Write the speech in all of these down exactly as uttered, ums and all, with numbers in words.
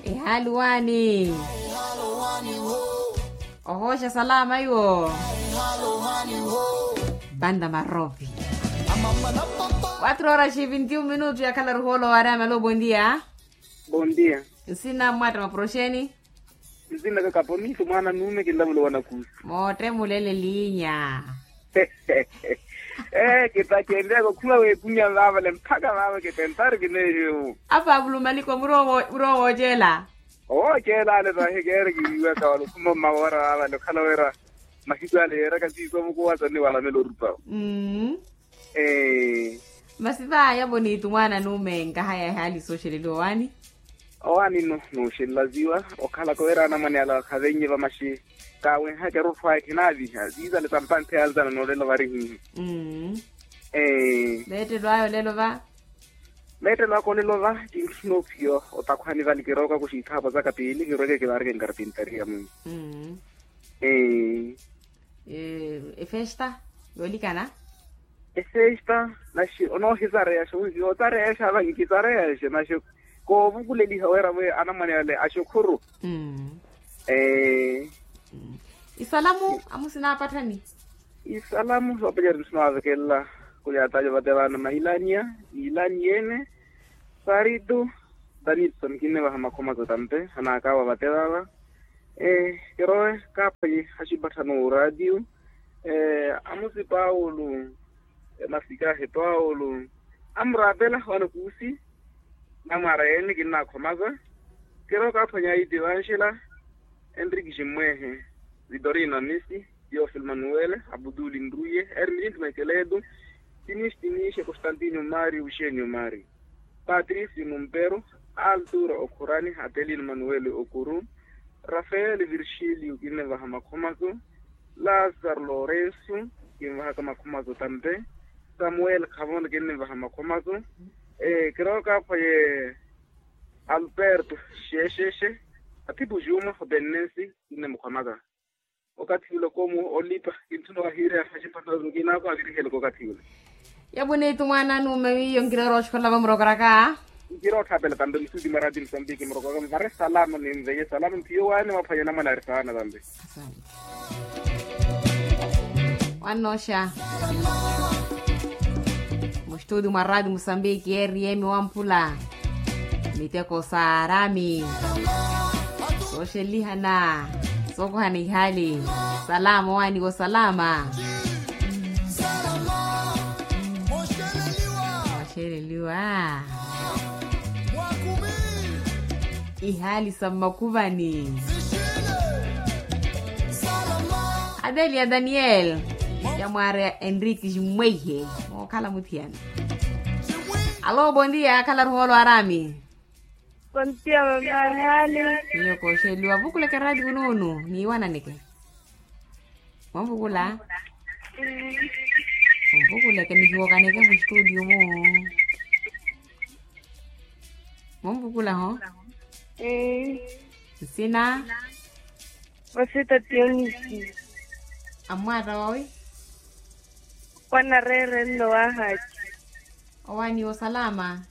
Ehaali waani? Ohooxa salama iwo. Banda marovi. Quatro horas e vinte e um minutos yakhalaru hoolo wa arama lo bondia. Bondia. Nsina mmwatta maporoxeni. Nsina kakapo miitu mwaana nuume kinlamulo wanakuusi. Mootte mulele liinya. Ee kitacendeya kokhuma weekunya vaavale mpakha vaava kitentari kineehiwu. Apa avulumaliko muroowo muroowo oceela. Owoceela ale tahi keere kiwiiwaka wala okhuma mmawoora vaavale okhala wira mahiku ale yeeraka nsiiso mukuwa soniwalamela orupawo. Masi vaaya voniitu mwaana nuume nkahaya ehaali sooxeleliwa owaani. Owaani no nooxelelaziwa okhalaka wira anamwane ala khavennye vamaxi. Kaawenhaka erutthu aya khinaaviha ziizale sampanthi yalzana noolelo varihihi. Meettelo aya olelo va. Meettelo aka olelo va tintthuna ophiya otakhwani vale kirooka kuxiithaapo saka piili kirweke kivaareke nkarpintariya mwi. Efesta yoolikana. Efesta naxi onoohisareyaxa onsi otareyaxa vanki tareyaxa naxi koovukuleliha wira wi anamwane ale axukhuru. Isalamu amusinapatthani. Isalamu soopacari nsinaavekelela kulyatali ovate vaana mailania, ilaniene, saritu, tanitson kinnivaha makhomaso tampe anaakawa vate vaava. Kirowe kaaphwanyi axipatthani oraatiyo. Amusi paulu, masikahi paulu, amuraapela wanakuusi. Namwaara yeene kinnaakhomasa. Kirowe kaaphwanyi aiti vanxela, enriki ximmwehe, vitorino amisi, teofil manuwele, abutuli nruye, ermilin makeletu, tinixi tinixi constantino mari uxenio mari, patrisi numperu, alturo okhurani, atelino manuwele okuru, rafeeli virxilio kinnivaha makhomaso, lasaro lorenso, kinvahaka makhomaso tampe, samuweli khavona kinnivaha makhomaso. Kirowe kaaphwaye, alperto, xexexe, athipu juma, hopennensi, kinnimukhomaka. Okathi ula komu olipa kintthuna wahiireya axipatthana kinaako avirihele kokathi ula. Yapunitu mwaana nuume wiyo nkiroora oxikola vamurokoraka. Nkirootthaapela tampe musudi mwa raati musambiki murokoraka mvare salama ni mveye salama mpiyo waani mwaphwanya namwanaari saana tampe. Wannooxa. Mustudi mwa raati musambiki eriyemi wamphula. Miteko sa arami sooxelihana, sookuhana ihali. Salama owaani ko salama. Waxeleliwa. Ihali sa mmakuvani. Adelia daniel, ya mwaari ya enrique ximmweihe mookhala muthiyana. Alo bondia yakhalaru hoolo arami. Kontiya mamaari hali. Miyo kooxeliwa vukuleke raati kunuunu niiwananeke. Mwamvukula. Mwamvukuleke nihiwokaneke mustudio mu. Mwamvukula ho. Nsina. Vasita tionisi. Amwaata wawi. Kwanareere nno wahaci. Owaani osalama.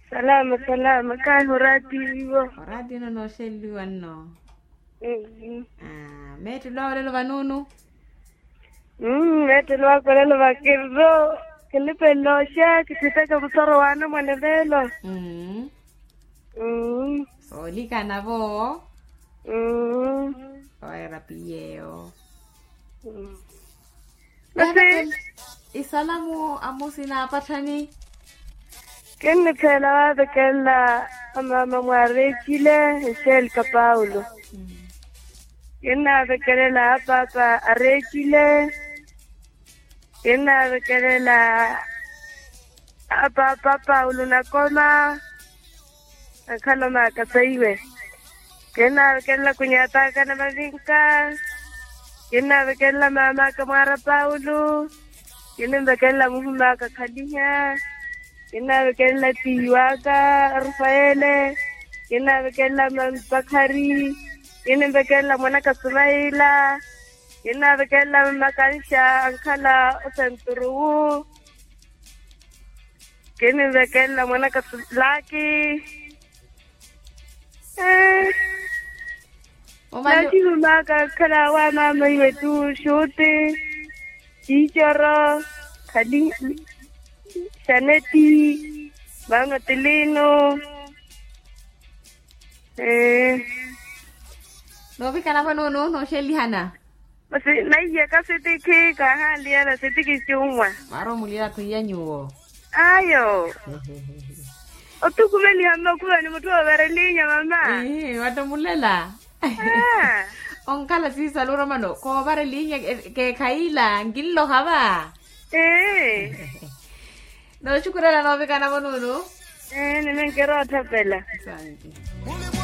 Salama salama kahi oraatiiwo. Oraatiwo nno nooxeleliwa nno. Meettelo awo lelo vanuunu. Meettelo ako lelo vakirro. Kinipenlooxa kithiteke musoro waana mwaneveelo. Soolikana vo. Oweera piyeyo. Masi. Isalamu amusi naapatthani. Kinnitheela waavekelela amaama mwa areekile. Eselika paulo. Kinnaavekelela apaapa areekile. Kinnaavekelela apaapa paulo nakoma. Ankhala omaaka saiwe. Kinnaavekelela kunyataka na mavinka. Kinnaavekelela mamaka mwaara paulo. Kinnimvekelela muhumaka khaliha. Kinnaavekelela tiiwaka rafaele. Kinnaavekelela mami pakhari. Kinnimvekelela mwanaka sumaila. Kinnaavekelela mmakanxa ankhala osenturuwu. Kinnimvekelela mwanaka sulaki. Naxihumaaka khalaawa maama iwe tu xuuti, ciicoro, khali, xaneti, maama tilino. Ee. Noovikana vano nooxelihana. Masi naiyaka sitikhi kaahanliyana sitikhi cunwa. Mara omuliyakhu iya nyuwo. Ayo. Otukhumeliha mmakhuvani mutthu oovarelinya mama. Ihi watta omulela. Onkhala siisalu oromano koovarelinya. Keekhayiila nkinloha va. Ee. Nooxukurela noovikana vonunu. Ee nimenkerootthapela.